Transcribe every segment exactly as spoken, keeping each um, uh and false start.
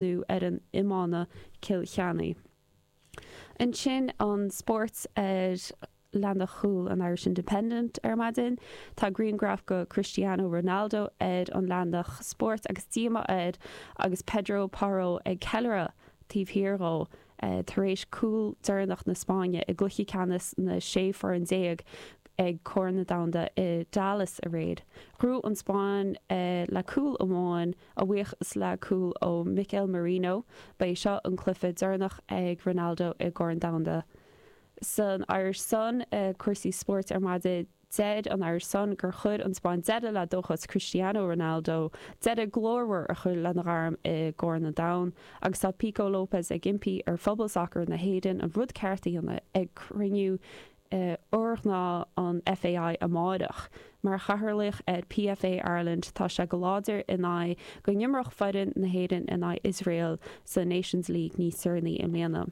nó ar an iomána Cill Chainnigh. Ansin an spórt ar leathanach cúil an Irish Independent ar maidin. Tá grianghraf de Cristiano Ronaldo ar an leathanach spóirt agus díomá air agus Pedro Porro ag ceiliúradh taobh thiar dhó tar éis cúl deireanach na Spáinne i gcluiche ceannais na sé foireann déag ag Corn na Domhanda i Dallas aréir. Ghnóthaigh an Spáinn le cúl amháin a bhuíochas le cúl ó Mikel Merino. Ba é seo an cluiche deireanach ag Ronaldo i gCorn Domhanda. San Irish Sun cúrsaí spóirt ar maidin deir an Irish Sun gur chuir an Spáinn deireadh le dóchas Cristiano Ronaldo deireadh glórmhar a chur lena ghairm i gCorn an Domhain agus tá Pico Lopez ag impí ar phobal sacair na hÉireann an rud ceart a dhéanamh ag cruinniú urghnáth an FAI amárach. Mar chathaoirleach ar PFA Ireland tá sé go láidir in aghaidh go n-imreodh foireann na hÉireann in aghaidh Iosrael sa Nations League níos deireanaí i mbliana.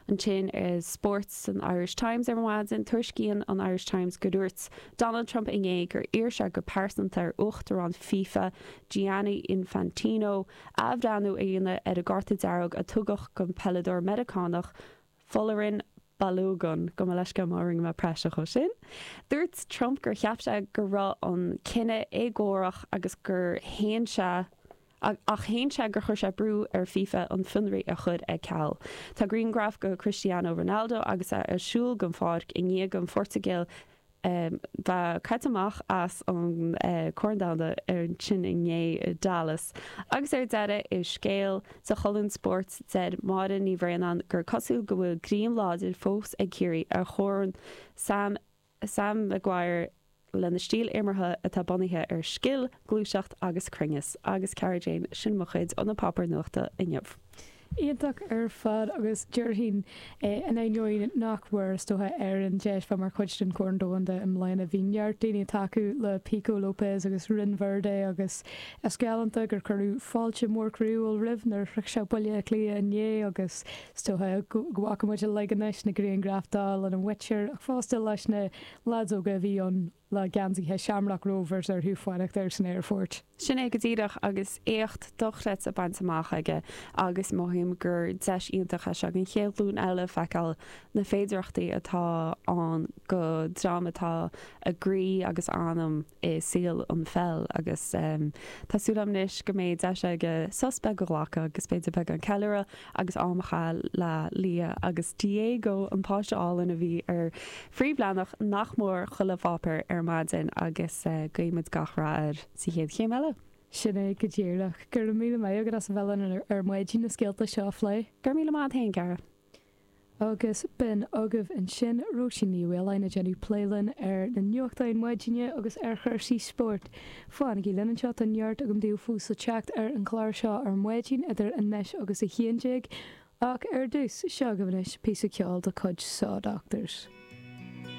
Ansin ar spórt san Irish Times ar maidin, tuairiscíonn an Irish Times go dúirt Donald Trump inné gur iarr sé go pearsanta ar Uachtarán FIFA Gianni Infantino athbhreithniú a dhéanamh ar an gcárta dearg a tugadh don pheileadóir Meiriceánach Folarin Balogun gabh mo leithscéal má rinne mé praiseach de sin. Dúirt Trump gur cheap sé go raibh an cinneadh éagórach agus gur shéan sé ach shéan sé gur chuir sé brú ar FIFA an fionraí a chur ar ceal. Tá grianghraf de Cristiano Ronaldo agus é ag siúl den pháirc i ndiaidh don Phortaingéil bheith caite amach as an Corn Domhanda ansin inné i Dallas. Agus ar deireadh i scéal sa cholún spóirt deir Máire Ní Bhraonáin gur cosúil go bhfuil greim láidir fós ag Ciarraí ar chorn Sam Sam Maguire lena stíl imeartha atá bunaithe ar scil, gluaiseacht agus cruinneas. Agus Cara Jane sin mo chuid ó na páipéir nuachta inniu. Iontach ar fad agus déarfainn in ainneoin nach bhfuair is dócha Éirinn deis bheith mar chuid den Chorn Domhanda i mbliana bhí neart daoine ag tacú le Pico Lopez agus Roinn Verde agus is galánta gur cuireadh fáilte mór croíúil roimh nuair a shroich sé Baile Átha Cliath inné agus is dócha go bhfaca muid uilig anois na grianghraif dó lena mhuintir ach fosta leis na lads óga a bhí ann le geansaithe Shamrock Rovers orthu fanacht air san aerfort. Sin é go díreach agus éacht dochreidte bainte amach aige agus mothaím gur deis iontach é seo don chéad ghlúin eile feiceáil na féidearthachtaí atá ann do dhream atá a gcroí agus anam i saol an pheil agus um, tá súil agam anois go mbeidh deis aige sos beag a ghlacadh agus b'fhéidir beagán ceiliúradh agus am a chaitheamh le Lia agus Diego an páiste álainn a bhí ar phríomhleathanach nach mór chuile pháipéar ar maidin agus uh, guímid gach rath air sa chéad chéim eile. Sin é go díreach gur míle maith agat as a bheith ar ar maidin na scéalta seo a phlé. Gur míle maith féin Cara. Agus b'in agaibh ansin Róisín Ní Mhaoláin ag déanamh plé linn ar na nuachtáin maidine agus ar chúrsaí spóirt. Fanaigí linn anseo tá neart agam daoibh fós le teacht ar an chlár seo ar maidin idir anois agus a haon déag, ach ar dtús seo agaibh anois píosa ceoil de chuid Saw Doctors.